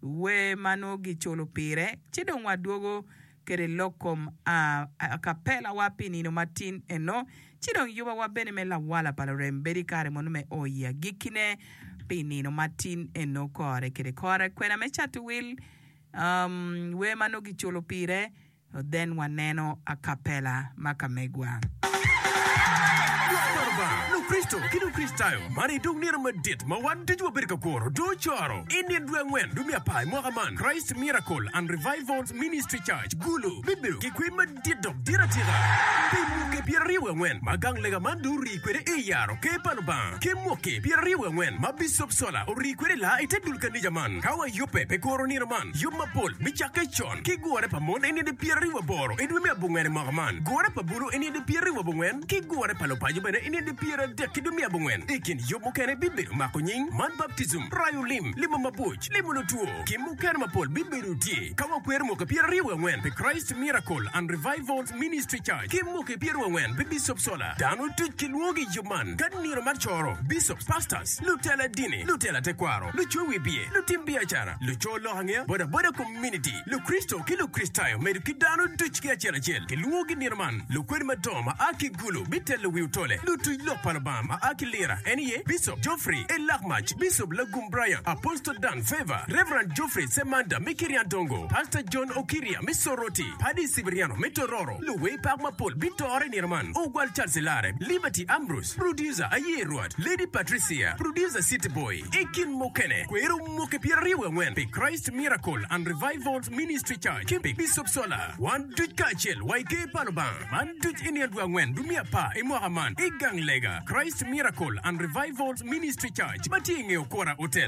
Wer ma nongo giculo pire, ci dong wadwogo kede lok kom akapelawa pi nino matin eno, ci dong yubawa bene me lawala pa lurem bedo i kare mono me o i agikkine pi nino matin eno kore kede kore. Kwena me cato wil, wer ma nongo giculo pire, Then waneno acapella ma ka megwa. Lok pa Lubanga, Lukricito ki Lukricitayo man i dog nino madit ma wan ducu wabedo ka kuro dong ocoro. I nino dwe angwen dwe me apar i mwaka man, Christ Miracle and Revivals Ministry Church, Gulu, bibedo ki kwer madit dok dit atika pi mwaki 24 ma gang lega man dong orii kwede i yaro Ker pa Lubanga ki mwaki 24 ma Bicop Sola orii kwede laa i te dul kanica man. Ka wayubbe pi kuro nino man, yub mapol bicakke con. Ki gure pa mon i nino 28 i dwe me abongwen i mwaka man, gure pa bulu i nino 29, ki gure pa lupaco bene i nino 30 ki dwe me abongwen. I kin yub mukene bibedo mako nying, man baptijim, rayo lim, limo mabuc, limo lutwo, ki mukene mapol bibedo tye. Ka wakwero mwaki 24 pi Christ Miracle and Revivals Ministry Church ki mwaki 24 pi Bicop Sola, dano duc kilwongogi i yub man ka nino mar coro, bicops, pastors, lutela dini, lutela tekwaro, luco wibye, lutim biacara, luco lok angeya, bodaboda Community, Lukricito ki Lukricitayo medo ki dano duc ki acel acel kilwongogi nino man. Lukwed madongo ma a ki Gulu bitelo wi otole. Lutuc lok pa Lubanga ma a ki Lira en aye Bicop Geoffrey E. Lakmac, Bicop Lagum Brian, Apostle Dan Favor, Rev. Geoffrey Semanda me Kiryandongo, Pastor John Okiria me Soroti, Paddy Cibriano me Tororo. Luwer pak mapol bitore i nino man, Ogwal Charles Ilare, Liberty Ambrose, Producer Aye Rwot, Lady Patricia, Producer City Boy. I kin mukene, kwero mwaki 24 pi Christ Miracle and Revivals Ministry Church ki pi Bicop Sola. Wan duc kacel wa i Ker pa Lubanga. Man duc i nino dwe angwen dwe me apar i mwaka man i gang lega Christ Miracle and Revivals Ministry Church ma tye i nge Okora Hotel.